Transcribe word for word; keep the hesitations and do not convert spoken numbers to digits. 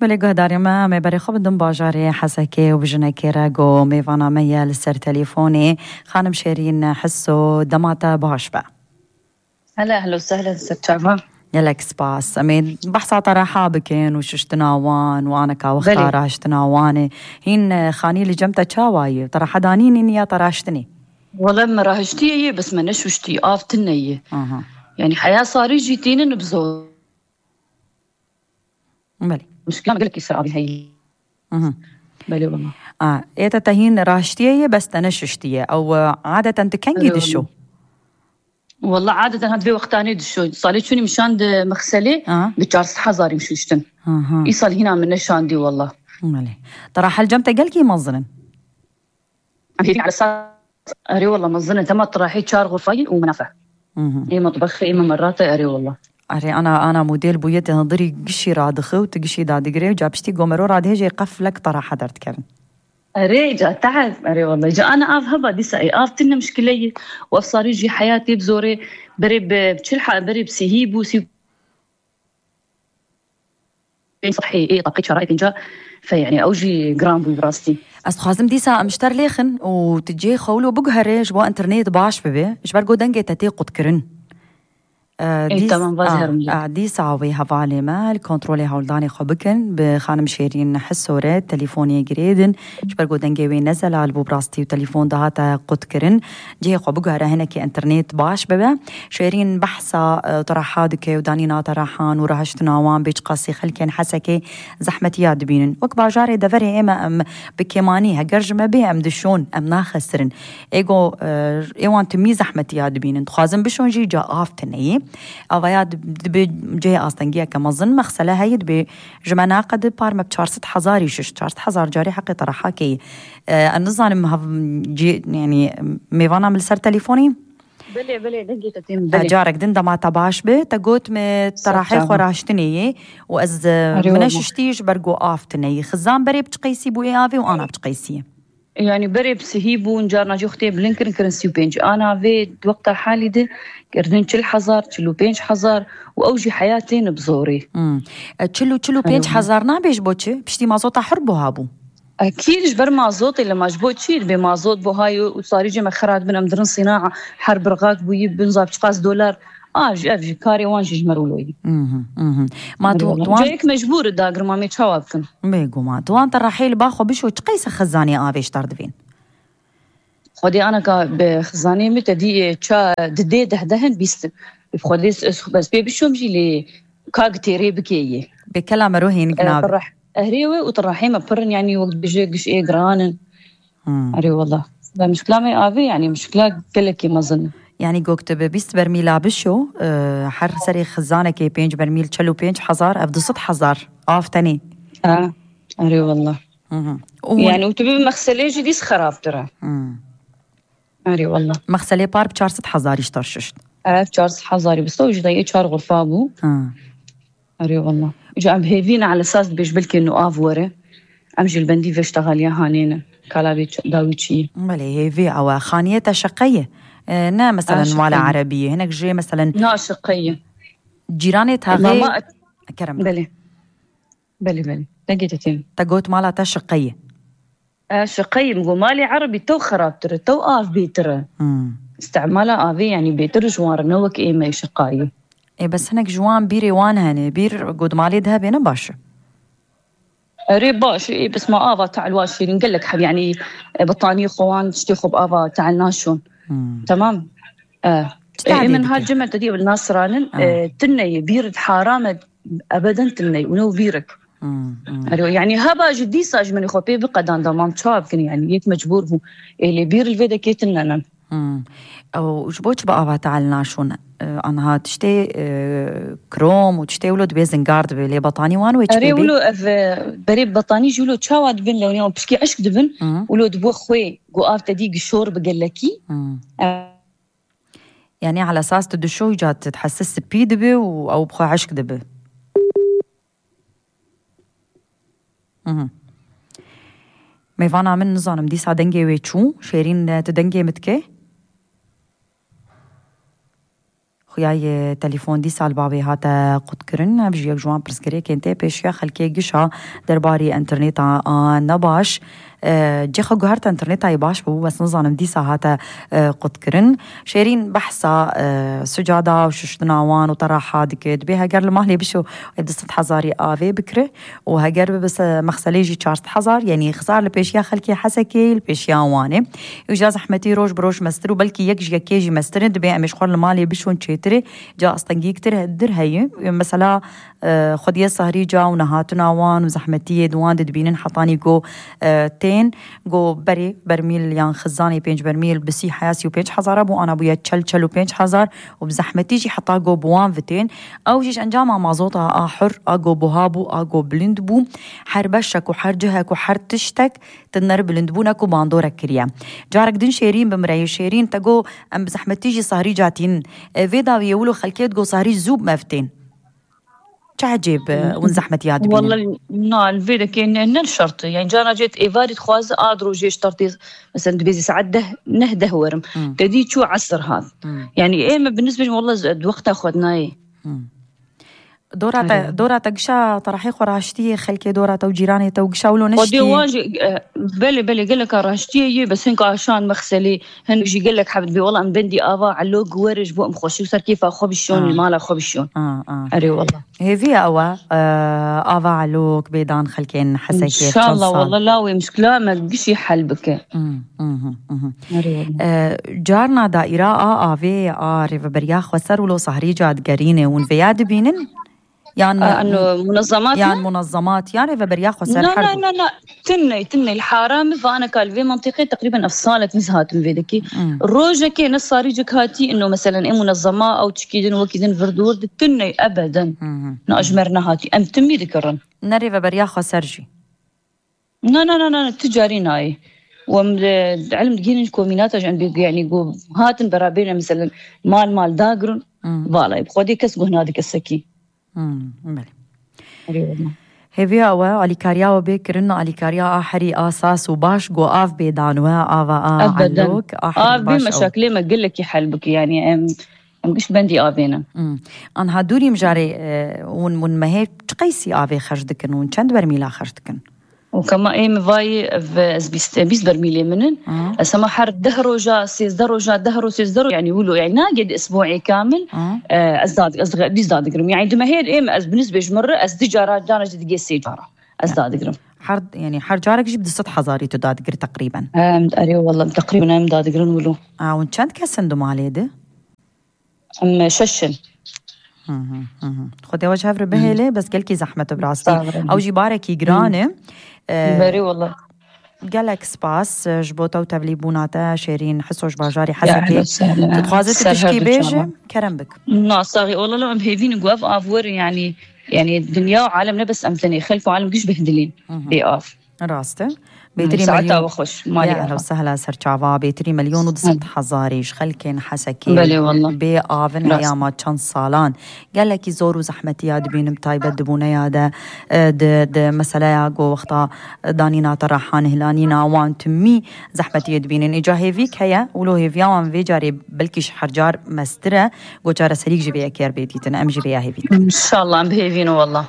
Belê guhdarê me, em ê berê xwe bidin bajarê Hesekê û bi jinekê re ku mêvana me ye li ser telîfonê, xanim Şêrîn Hiso, dema te baş be. Hela, ehlo sehlen, ser çava. Gelek spas. Em ê behsa te reha bikin û şiştina wan û aneka wexta Belê. Rahiştina wan ê. Hîn, e, xanî li cem te çawa ye? Te reha danînî ya te rahiştinê? Wele me rahiştiye ye, bes me neşuştî. Av tine ye. Aha. Yani heya sarî jî tînin bi zor. Belê. Muşkila me gelekî ser avî heye. Mhm. Belê wala. A, ê te te hîn raştiye ye, bes te neşiştiye. Ew, e, adeten tu kengî Belê dişo? Wala. Wala adeten ha divê wextanê dişo. Salê çûnî min şand mexselê Aha. bi çar sed hezarî min şuştin. Aha. Îsal hîna min neşandî wala. Belê. Te rahel cem te gelkî mezin in? Hêvî ala sas. Erê wala mezin e. Dema tu rahê çar xurfayî û menafe. Mhm. Ê metbexê, ê memerate, erê wala. Erê, ana, ana model bûye, te hundirî gişî radixe û tu gişî dadigire û ca piştî gomero radihê jê qeflek te reha derdikevin. Erê, ca tehe, erê wala. Ca ana av heba dîsa ê. Av tine muşkile ye. Û ev sarî jî heyatê bi zorê berê bi çil ha-, berê bi sihî bû, sî pênc sehî, ê, deqî çara, ê pênca, fe, yani, ew jî giran bû, bi rastî. Ez dixwazim dîsa em ji te re lêxin û tu cihê xwe wilo biguherê, ji bo internet baş bibe, ji ber ku dengê te tê qutkirin. E, Ê, dîs-, tamam, vaz a, herim jî. A, dîsa wê hevalê me li kontrolê hewldanê xwe bikin, bi xanim Şêrîn Hiso re telîfonê girêdin, ji ber ku dengê wê ne zelal bû, bi rastî û telîfon dihate qutkirin. Cihê xwe biguhere, hinekî internet baş bibe. Şêrîn behsa, e, te reha dike û danîna te rehan û rahiştina wan bê çiqasî xelkên Hesekê zehmetiya dibînin. Wek bajarê deverê ême em bi kêmanî, heger ji me bê em dişon, em naxesirin. Ê go, e, ê wan timî zehmetiya dibînin. Dixwazin bişon jî ca av tine ye. Avaya dib-, dibe cihê astengiyeke mezin, mexsele heye, dibê ji me naqedi par me bi çar sed hezarî şişt. Çar sed hezar carê heqê te reha keyî. E, ez nizanim hev-, cî-, yani, mêvana min li ser telîfonê? Belê, belê, dengê te têm, E, belê. Carek din dema te baş be, te got me te Ser rahê çava. xwe raştinê yê û ez, e, Erê min wala. neşiştî ji ber ku av tine yî. Xizan berê bi çi qeysî bû ê avê û ana bi çi qeysî ye? Yani berê bi sihî bûn, carna jî xwe tê bilind kirin, kirin sî û pênc. Ana vê wexta halî de kirdin çil hezar, çil û pênc hezar û ew jî heyatê ne bi zorê. Hmm. E, çil û çil û pênc hezar nabê ji bo çi? Piştî mazota hir buha bû. Ekîd ji ber mazotê, lema ji bo çi? Dibê mazot buha ye û sarî cê me xira dibin, em dirin sînaa, her birxak bûyî bin zaf çiqas dolar. A, ji ev jî karê wan jî ji me rûloyî. Mhm, mhm. Ma tu, Eyvallah. tu wan Cayek mecbûr e dagir, ma em ê çawa bikin? Bêguman. Tu wan te rehê li ba xwe bişo, çi qeyse xizanê avê ji te re divên? Xwedê anaka bi xizanê min te dî, e, ça, didê deh dehin bîst. Bi Xwedê s-, s-, bes pê bişom jî lê ka gitêrê bikê yê. Bê kela mero hênik E, nabe. Tireh-, ehrê we û tirehê me pir in, yanî wek dibêje giş ê giran in. Hmm. Erê wela. Ve mişkila me avê, yanî mişkila gelekî mezin. Yanî gok tu bi bîst bermîla bişo, e, her serê xizanekê pênc bermîl çel û pênc hezar, ev du sed hezar av tenê. Ha, erê wela. Hı hı. Û hûn Yani û tu bi mexselê jî dîs xerabtir e. Hmm. Erê wela. Mexselê par bi çar sed hezarî ji te re şişt. Ev çar sed hezarî bi sto ji dayê çar xurfa bû. Ha. Erê wela. Ji em hêvî ne, ala esas dibêj belkê nu av were. Em jî li bendî vê ştexaliya hanê ne. Kala vê ç-, dawî çi ye? Belê, hêvî ew e. Xaniyê te şeqe ye. E, ne, meselen, Ha, mala şeqe ye. Erebî ye. Hinek jê, meselen, Na, şeqe ye. Cîranê taxê Mama, Kerem. Belê. Belê, belê. Dengê te têm. Te got mala te şeqe ye. E, şeqe ye. Min got malê erebî tew xerabtir e, tew av bêtir e. Hmm. Îstemala avê, yanî bêtir ji wan re ne wek ê me şeqayî. Ê, bes hinek ji wan bîrê wan hene. Bîr got malê de hebê ne baş e. Erê baş e, ê, bes ma ava te'l wa şîrîn gelek heb, yanî, e, betanî xwe wan tiştê xwe bi ava te'l naşon. Hmm. Tamam. E, Çi e, te'lê min dike? Her cem te dî nasranin, Ha. e, tine ye, bîr haram e, ebeden tine ye, û ne bîrik. Hmm, hmm. Erê, yanî heba jî dîsa ji min xwe pê biqedan da mam çawa bikin, yanî yek mecbûr bû. Ê, lê bîr li vê de kê tine ne. Hmm. Ew ji bo çi bi ava te'l naşon? E, anha tiştê, e, krom û tiştê wilo dibê zingar dibe, lê betanî wan wê çi Erê pê bê? Wilo ev, e, berê betanî jî wilo çawa dibin, lewniya pişkî eşk dibin, Hı. Wilo dibo xwê, gu av te dî gişor bi gelekî. Hı. E, Yani ala esas tu dişo îca tu dihese spî dibe û ew bi xwe eşk dibe. Mhm. Mêvana min nizanim dîsa dengê wê çû. Şêrîn, tu dengê min dikê? Xuya yê telefon dîsa li bavê hate qutkirin. Ev jî yek ji wan pirsgirêkên tê pêşiya xelkê gişa derbarî înterneta a nebaş. E, cêxa guhert înterneta yê baş bû, bes nizanim dîsa hate, e, qutkirin. Şêrîn behsa, e, sicada û şiştina wan û te reha dike. Dibê heger li malê bişo, ê du sed hezarî avê bikire û heger bibe se-, mexselê jî çar sed hezar, yanî xizar li pêşiya xelkê Hesekê, li pêşiya Wanê. Îja zehmetî roj bi roj mestir û belkî yek ji yekê jî mestir in. Dibê em ê ji xwe li malê bişon çêtirê, ca astengîktir he-, dir heye. Mesela, e, xwediyê sahrî ca û nehatina wan û zehmetiyê di wan de dibînin hetanî ku, e, tên, ku berê bermîl yan xizanê pênc bermîl bi sî heya sî û pênc hezara bû, ana bûye çel, çel û pênc hezar û bi zehmetî jî heta ku bi wan vitên. Ew jî ji encama mazota a hur, a ku buha bû, a ku bilind bû. Her beşek û her cihek û her tiştek tiner bilind bûne ku bandorek kiriye. Carek din Şêrîn bimire, yê Şêrîn te got, em bi zehmetî jî sahrî catînin. E, vê dawiyê wilo xelkê digot sahrî zû mevtên. Çi ecêb, e, hûn zehmetiya dibînin? Walla, na, li vê dekê ne, ne şert e. Yani, cana cêt êvarî dixwaze a dirojê şertê, mesela, dibêjî saet deh, neh deh werim. Hmm. Te dî çû esir hat. Hmm. Yani, ê me bi nisbet, walla, z-, di wexta xwe nayê. Hmm. Dora te, Erê. Dora te gişa terehê xwe raştiyê, xelkê dora te û cîranê te û gişa wilo Xwedê neştiyê? Wan jî, e, belê, belê, geleka raştiyê yê, bes hinka şan mexselê, hin jî gelek heb dibê, wela em bendî ava elok were ji bo em xweşî û ser kêfa xwe bişon, A. li mala xwe bişon. A, a. Erê wela. Hêviya ew e, e, ava elok bêdan xelkên Hesekê çend sal. İnşallah, wela lawê mişkila me gişî hel bike. Hmm, mhm, mhm. Erê wela. E, carna daîra a avê a rêveberiya xweser wilo sahrî ca digerîne, hûn vêya dibînin? Yan A, mu-, eno munazamat yan ne? Munazamat, yan rêveberiya xweser Na, her na, du. Na, na. Tinne, tinne. Li Haramê vaneka li vê mentiqê teqrîben ev salek nîz hatim vê dekî. Hmm. Rojekê ne sarîcik hatî, ino meselen ê munezama ew çikî din, wekî din vir dûr di tinne ebeden. Hmm. Na ji me re nehatî. Em timî dikirin. Ne rêveberiya xweser jî. Na, na, na, na, na, tu carî nayê. Û em li, di ilim digihînin ji komînata jî em bê, yanî, ku hatin berabêne, meselen, mal, mal dagirin, Hmm. vala, bi xwedê kes guh nade kesekî. Hmm, belê. Erê wela. Hêviya we, alîkariya we bê kirin, alîkariya a herî asas û baş, ku av bê dan we, ava a Ebeden. Elok, a herî Av bê baş ew. Meşakilê me gelekî hel bike, yanî em, em giş bendî avê ne. Hmm. Anha dûrî mijarê, e, hûn, hûn mehê çi qeysî avê xerc dikin, hûn çend bermîla xerc dikin? Û kema ê min vayî, ev, ez bîst, bîst bermîlê min in. Hı. Ez hema her deh roja, sêzdeh roja, deh roj, sêzdeh roj, yani wilo, yani nagê di isbuê kamil, Hı. e, ez dad-, ez dîs dadigirim. Yani di mehê ê min ez bi nisbê ji min re, ez di cara, cara jî digê sê cara. Ez Ya. Dadigirim. Her, yani her carek jî bi du sed hezarî tu dadigirî teqrîben. Em, erê wela, teqrîben em dadigirin wilo. A, hûn çend kes in di malê de? Em şeş in. Hı hı, hı hı. Xwedê we ji hev re bihêle, bes gelkî zehmet e bi rastî. Sağ olun. Ew jî barekî giran e. Hı. Ee, Berê wela. Gelek spas, e, ji bo te û tevlîbûna te, Şêrîn Hiso ji bajarê Hesekê. Ehlen sehlen. Tu dixwaze tu tişkî bêje, kerem bik. Na, saxî, wela em hêvî ne ku ev av were, yanî, yanî dinya û alem ne bes em tenê, xelk û alem giş behdilîn. Hı hı. Bê av. Rast e. Bêtirî Saeta milyon. We xweş, malî Ya, ehla. Ehla sehla serçava, bêtirî milyon û du sed hezarî ji xelkên Hesekê Belê, wallah. Bê avin Rast. Heyama çend salan. Gelekî zor û zehmetiya dibînim taybet dibûneya de, e, di, di meseleya go wexta, e, danîna te rehan hilanîna wan timî zehmetiyê dibînin. Îca hêvîk heye, wilo hêviya wan vê carê belkî ji her car mestir e, go çareserîk ji vê yekê bê dîtin. Em jî vêya hêvî dikin. İnşallah, em bihêvîn, wallah.